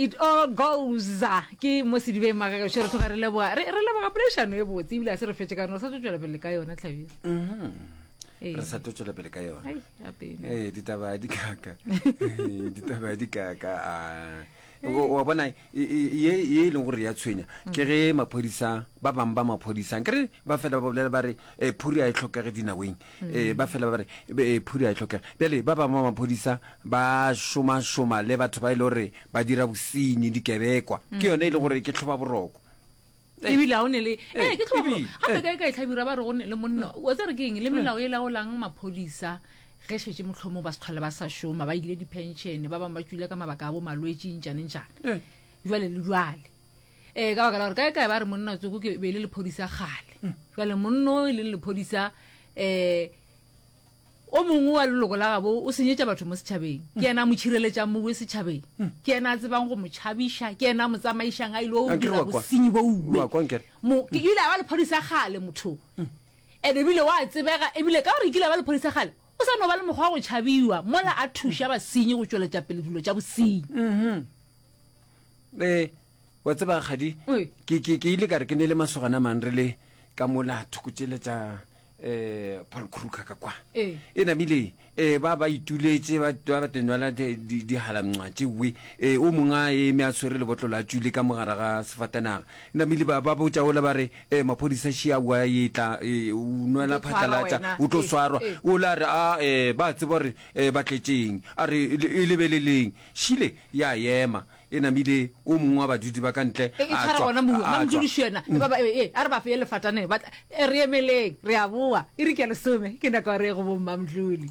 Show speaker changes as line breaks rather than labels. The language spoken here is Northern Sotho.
It all goes ke mo sedibeng magagešo re tloga re leboga re re leboga poledišano e botse ebile a se re fetše ka yona re sa tlo tšwela pele ka yona tlhabile
mm-hmm.
Ee.
re sa tlo tšwela pele ka yona
Ai, gape.
ee ditaba di kaka Ee, ditaba di kaka a wa bona e- e- ye ye e leng gore ya tshwenya ke ge maphodisa ba bangwe ba maphodisa nkere ba fela ba bolela ba re eh, phuri a e tlhokege dinaweng um ba fela ba re eh, phuri a e tlhokege bjale ba bangwe ba maphodisa ba šomašoma le batho ba e le gore ba dira bosenyi dikebekwa ke yone e le gore ke tlhoba boroko
ebile ga o ne le ee ke tlhoba
ebile,
gape kae kae tlhabira ba re go ne le monna wa tsere ke eng le melao e laolang maphodisa ge šetse motlhomo ba se tlhole ba sa šoma ba ile di-pension ba bangwe ba tswile ka mabaka a bo malwetši ntšane ntšane jwale le jwale ee ka baka la gore kae kae ba re monna tsoko ke be e le lephodisa kgale jwale monna o e leng lephodisa um O mongwe wa leloko la gabo o senyetša batho mo setšhabeng. Ke yena a mo tšhireletšang mowe setšhabeng. Ke yena a tsebang go mo tšhabiša. Ke yena a mo tsamaišang a ile go
Ankere
dira
wa kwa.
bosenyi bo uwe.
Wa kwa ankere.
Mo, ke ile a ba lephodisa kgale motho. And ebile wa tsebega, ebile ka gore e kile a ba lephodisa kgale, o sa no ba le mokgwa wa go tšhabiwa mola a thuša basenyi go tšweletša pele dilo tša bosenyi.
Ee, wa tseba kgadi,
Oi.
ke, ke, ke ile ka re ke ne le masogana a mang re le ka mola thoko tšele tša um Paul Kruger ka kwa.
Ee.
E namile um ba ba ituletše ba ba ba tenwala dihalamncwa tšewe um o mongwe a eme a tshwere lebotlolo a tšwile ka mogare ga sefatanaga. E namile ba ba botša ola ba re um maphodisa šia wa etla um o nwela
O tlo tshwarwa
phatlalatša
wena.
o tlo
Ee,
swarwa.
ee.
Ola a re a um ba tseba gore um ba tletšeng a re e lebeleleng. Šile ya ema. E namile o mongwe wa badudi ba ka ntle
E, e
a
tshwara
tšwa,
gona mowe
a tšwa.
mamduliši yena e ba ba e, a re ba feye lefatane ba tla- e, re emeleng re a boa e re ke ya lesome ke nako ya re ye go bommamdluli.